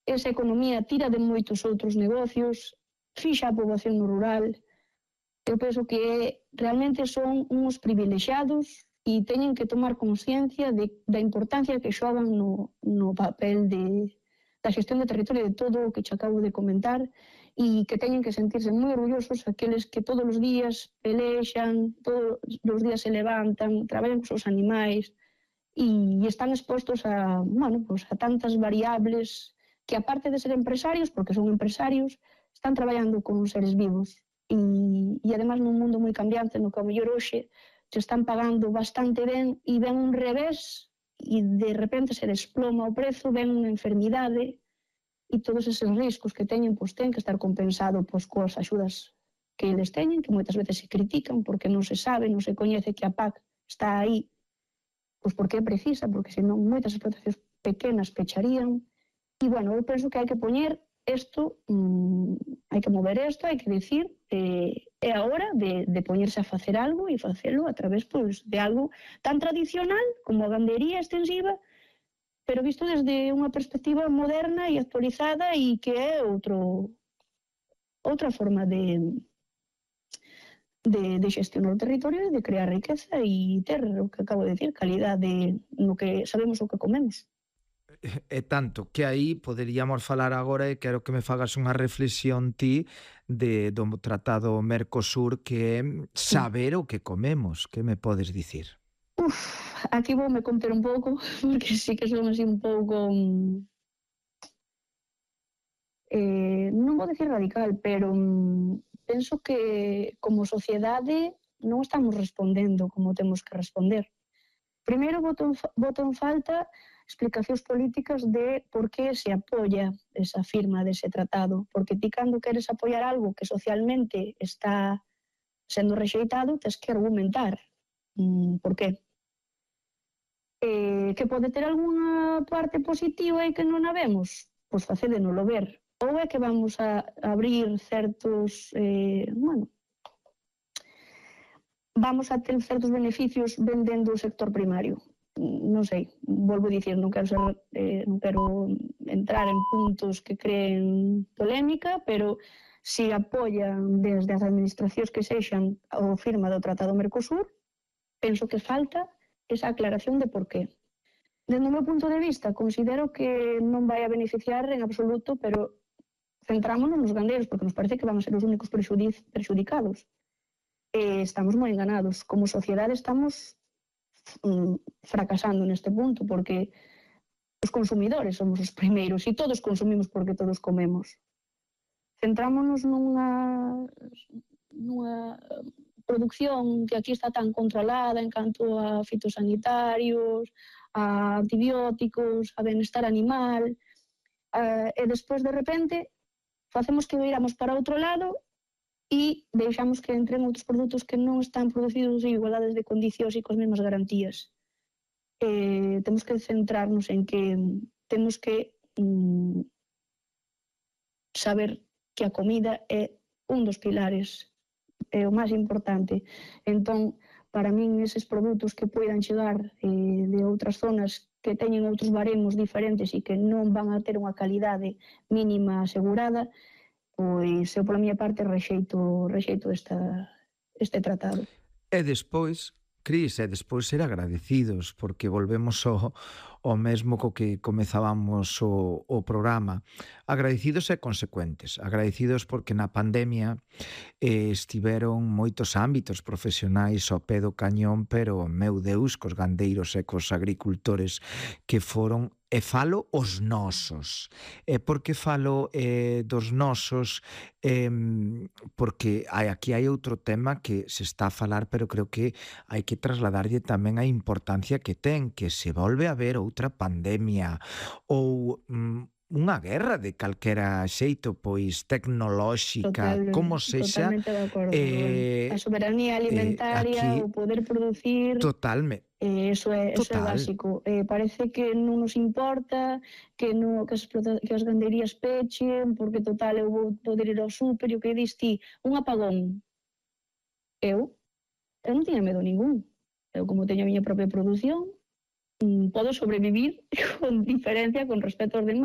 esa economía tira de moitos outros negocios, fixa a poboación no rural. Eu penso que realmente son uns privilexiados e teñen que tomar consciencia da importancia que xogan no papel da xestión de territorio de todo o que che acabo de comentar e que teñen que sentirse moi orgullosos aqueles que todos os días pelexan, todos os días se levantan, traballan cos seus animais e están expostos a tantas variables que, aparte de ser empresarios, porque son empresarios, están traballando con seres vivos e además nun mundo moi cambiante no que ao mellor hoxe se están pagando bastante ben e ven un revés e de repente se desploma o prezo, ven unha enfermidade e todos eses riscos que teñen, pois ten que estar compensado coas axudas que eles teñen, que moitas veces se critican porque non se sabe, non se coñece que a PAC está aí pois porque é precisa, porque senón moitas explotacións pequenas pecharían. E, eu penso que hai que poñer isto, hai que mover isto, hai que dicir, é a hora de poñerse a facer algo e facelo a través de algo tan tradicional como a gandería extensiva, pero visto desde unha perspectiva moderna e actualizada e que é outra forma de xestionar o territorio e de crear riqueza e ter o que acabo de decir, calidade no que sabemos o que comemos. E tanto que aí poderíamos falar agora e quero que me fagas unha reflexión ti do Tratado Mercosur, que é saber o que comemos. Que me podes dicir? Aquí voume conter un pouco, porque sí que son así un pouco, non vou dicir radical, pero penso que como sociedade non estamos respondendo como temos que responder. Primeiro, boto en falta explicacións políticas de por que se apoia esa firma dese tratado, porque ti cando queres apoiar algo que socialmente está sendo rexeitado, tens que argumentar por qué. Que pode ter algunha parte positiva e que non a vemos? Pois facédenolo ver. Ou é que vamos a abrir certos, vamos a ter certos beneficios vendendo o sector primario. Non sei, volvo a dicir, non quero entrar en puntos que creen polémica, pero se apoian desde as administracións que sexan a firma do Tratado Mercosur, penso que falta esa aclaración de por qué. Dende o meu punto de vista, considero que non vai a beneficiar en absoluto, pero centrámonos nos gandeiros, porque nos parece que van a ser os únicos perxudicados. Estamos moi enganados. Como sociedade estamos fracasando neste punto, porque os consumidores somos os primeiros e todos consumimos porque todos comemos. Centrámonos nunha produción que aquí está tan controlada en canto a fitosanitarios, a antibióticos, a benestar animal, e despois de repente facemos que viramos para outro lado e deixamos que entren outros produtos que non están producidos en igualdades de condicións e coas mesmas garantías. Temos que centrarnos en que temos que saber que a comida é un dos pilares, é o máis importante. Entón, para min, eses produtos que poidan chegar de outras zonas que teñen outros baremos diferentes e que non van a ter unha calidade mínima asegurada, pois eu pola miña parte rexeito este tratado. E despois, Cris, ser agradecidos, porque volvemos ao mesmo co que comezábamos o programa. Agradecidos e consecuentes. Agradecidos porque na pandemia estiveron moitos ámbitos profesionais ao pé do cañón, pero, meu Deus, cos gandeiros e cos agricultores que foron. E falo os nosos. E por que falo dos nosos? Porque aquí hai outro tema que se está a falar, pero creo que hai que trasladarlle tamén a importancia que ten, que se volve a ver outra pandemia ou unha guerra de calquera xeito, pois tecnolóxica, como sexa. Totalmente de acordo. A soberanía alimentaria, o poder producir. Totalmente. Eso é básico. Parece que non nos importa que as gandeirías pechen, porque total eu vou poder ir ao súper e o que dis ti, un apagón. Eu non tiña medo ningún. Eu como teño a miña propia produción, podo sobrevivir con diferencia con respecto aos demais.